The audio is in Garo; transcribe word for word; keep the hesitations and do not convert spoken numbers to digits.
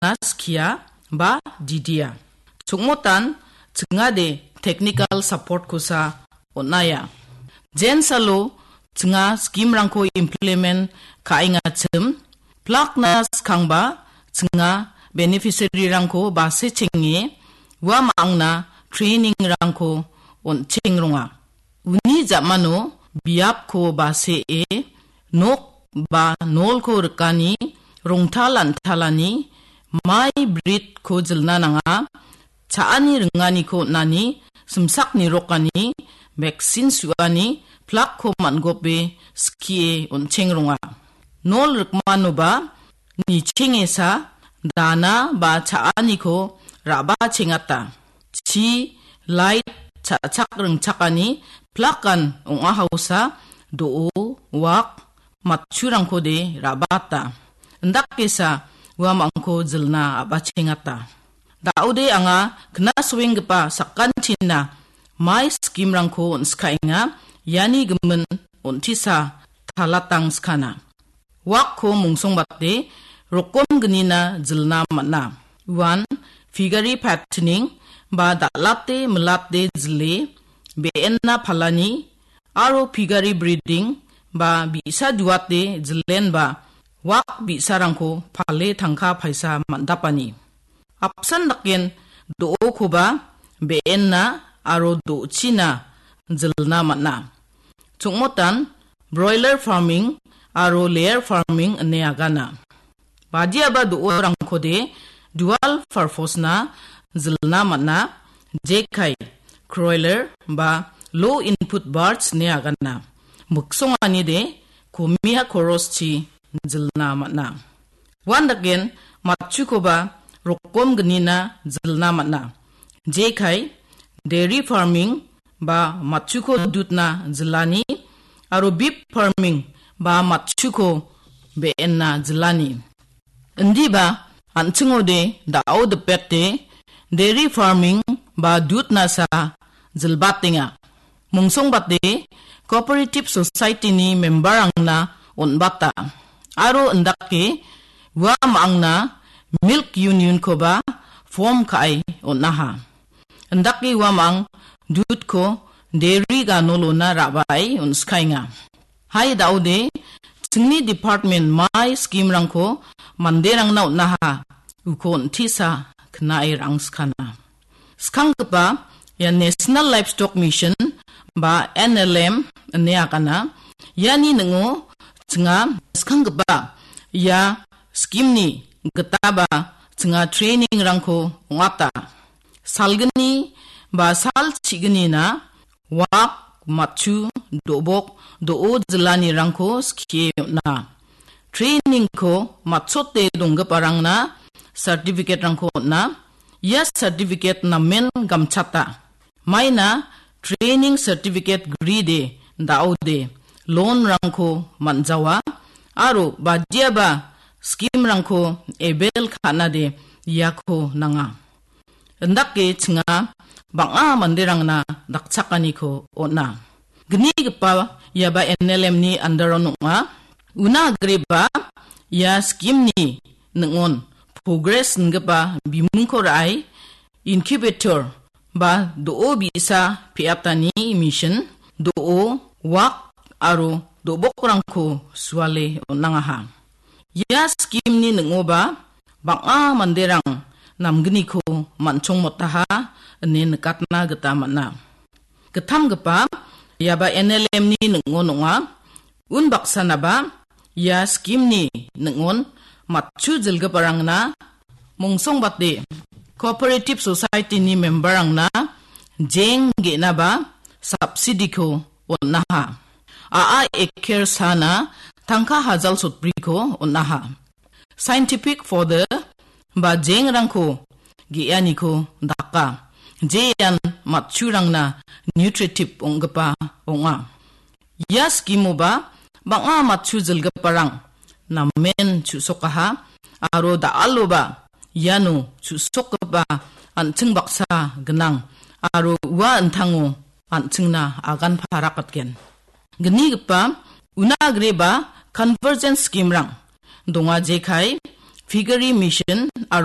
skia ba didia. Chongmotan chingade technical support-kosa on·aia. Jensalo chinga scheme-rangko implement ka·engachim, plakna skangba chinga beneficiary-rangko basechenge ua ma·angna training-rangko on·chengronga. Uni ja·mano biapko basee nok ba nolko rikani, rongtal an·talani, mai britko jilna nanga, cha·ani ringaniko on·ani, simsak nirokani, vaccine su·ani, plakko man·gope skie on·chengronga. Nol rikmanoba nichengesa dana ba cha·aniko ra·bachengata. Chi, light, cha·chak ringchakani plakan ong·a hausa do·o, wak, matchurangkode ra·bata. Indakesa uamangko jilna a·bachengata. Da·ode anga knasoenggipa sakantina mai scheme-rangko on·skaenga, iani gimin on·tisa talatang skana. Wakko mungsongbate rokom gnina jilna man·a. Uan figari patchning ba dal·ate milate jile be·enna palani aro figari breeding ba bi·sa duate jilenba wak bi·sarangko pale tangka paisa man·dapani. Apsan daken do·okoba be·enna aro do·china jilna man·a. Chongmotan broiler farming aro layer farming ine agana. Badiaba do·orangkode dual purpose-na jilna man·a, jekai, croiler ba low input birds ine agana. Miksonganide komia koroschi jilna man·a. Uandaken matchukoba rokom gnina jilna man·a. Jekai, dairy farming ba matchuko dutna jilani aro beef farming ba matchuko be·enna jilani. Indiba an·chingode da·o dipete dairy farming ba dutnasa jilbatenga. Mungsongbate Cooperative Society-ni member-rangna on·bata. Aro indake ua ma·angna Milk Union-koba form ka·e on·aha. Indake ua ma·ang dutko dairy ganolona ra·bae on·skaenga. Hai da·ode, chingni department mai scheme-rangko manderangna on·aha, uko on·tisa knae rangskana. Skanggipa ia National Livestock Mission ba N L M ine agana. Iani ning·o chinga skanggipa ia scheme-ni gitaba chinga training-rangko ong·ata. Salgni ba sal chignina wak, matchu, do·bok, do·o jilanirangko skie on·a. Training-ko matchote donggiparangna certificate-rangko on·a. Ia certificate namen gamchata. Maina training certificate gride da·ode loan-rangko man·jawa aro badiaba scheme-rangko avail ka·nade iako nanga. Indake chinga bang·a manderangna dakchakaniko on·a. Gnigipa iaba N L M-ni under-on ong·a. Una agreba ia scheme-ni ning·on progress ingipa bimungko ra·e incubator ba do·o bi·sa pe·atani machine, do·o, wak aro do·bokrangko suale on·angaha. Ia scheme-ni ning·oba bang·a manderang namgniko man·chongmotaha ine nikatna gita man·a. Gittamgipa iaba N L M-ni ning·o ong·a. Unbaksanaba ia scheme-ni ning·on matchu jilgiparangna mungsongbate Cooperative Society-ni member-rangna jeng ge·naba subsidy-ko on·aha. A·a eker sana tangka hajal sotbriko on·aha. Scientific fodder ba jengrangko ge·aniko daka. Jean matchurangna nutritive ong·gipa ong·a. Ia scheme-oba bang·a matchu jilgiparang namen chu·sokaha aro da·aloba iano chu·sokgipa an·ching baksa gnang aro ua an·tango an·chingna agan parakatgen. Gnigipa una agreba convergence scheme-rang donga, jekai, piggery mission aro